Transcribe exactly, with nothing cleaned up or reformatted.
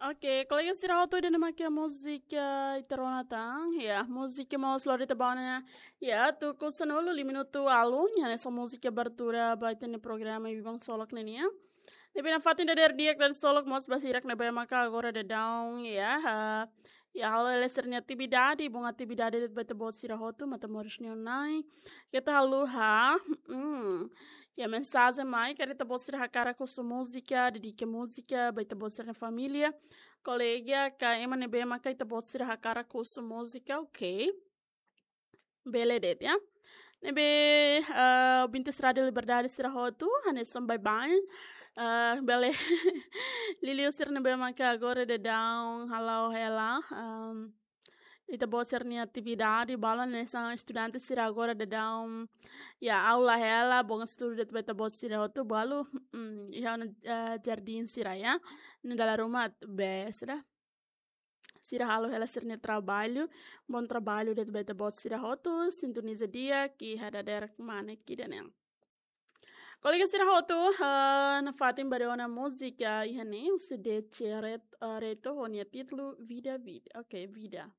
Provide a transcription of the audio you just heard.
Oke, kolega sira hotu, ida-ne'e mak múzika ita rona tan. Ya, múzika mós lori ita ba ona. Ya, tuku sanulu, lima minutu alun, ya, hanesan múzika abertura ba ita-nia programa Biban Solok ne'e nian. Ne'ebé nafatin dadeer di'ak dala solok mós ba sira ne'ebé maka agora daudaun, ya, ah, ya, halo hela sira-nia atividade, bom atividade ba ita-boot sira hotu, matan moris nia oin-na'in. Keta haluha, hmm, ya, mensajen mai, karik ita-boot sira hakarak husu múzika, dedika múzika ba ita-boot sira-nia família, kolega, ka ema ne'ebé maka ita-boot sira hakarak husu múzika, oke. Bele de'it, ya. Ne'ebé, ah, ouvintes Rádio Liberdade sira hotu, hanesan baibain. Ah, bele liuliu sira ne'ebé maka agora daudaun hala'o hela, ah, ita-boot sira-nia atividade, balu hanesan estudante sira agora daudaun, ya, aula hela, bom estudu de'it ba ita-boot sira hotu, balu, mm, iha, eh, jardín sira, ya. Ne'e dala ruma bes ida. Sira halo hela sira-nia traballu, bom traballu de'it ba ita-boot sira hotu, sintoniza di'ak iha dadeer kmanek ida-ne'e. Kolega sira hotu, eh, nafatin bá rona múzika iha ne'e, husi D C Ret-, eh, Reto, ho nia títulu Vida, Vida. Oke, Vida.